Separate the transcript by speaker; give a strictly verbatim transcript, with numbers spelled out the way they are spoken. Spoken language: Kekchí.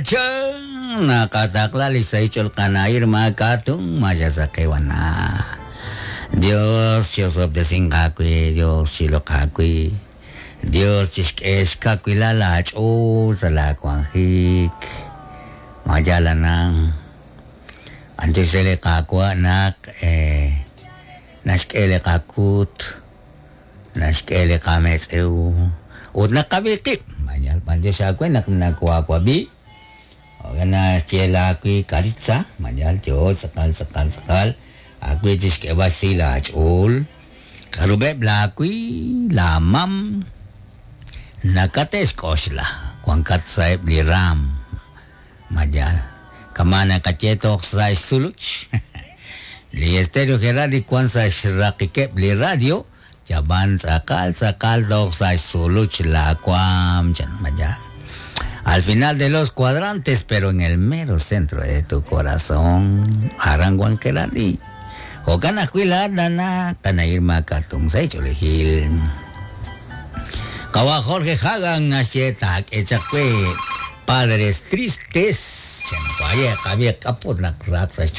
Speaker 1: Chan naqataqla li sahil qana'ir makatun mayasaqiwana. Dios chisob'tesinqawi, Dios chiloqawi, Dios chixk'exkawila laach'uul sa laawanjik. Mayalana antes qaawa' naq eh, naxk'e li qakut, naxk'e li qametz'ew ut naqab'i qib'. Mayal b'antiox aawe naq nakuaawab'i. Ogan naxye karitza, mayal yo tz'aqal tz'aqal tz'aqal aawe chixk'eb'al si laach'uul. K'arub'eb' laawi, laamam, nakate'xk'oxla wankat sa'eb' li raam. Mayal kama naqaye toj sa' xsuluch. Li Estéreo Gerardi wan sa' xraqikeb' li radio, yaban tz'aqal tz'aqal toj sa' xsuluch laawaam chan mayal. Al final de los cuadrantes, pero en el mero centro de tu corazón, aran wan Gerardi. Jo'kan ajwi' laat nana qana'ir makatun sa' ch'oolejil. Qawa Jorge Hagan naxye taak'e chaq we Padres Tristes. Chan waye qab'i q'aput naq raaq sa'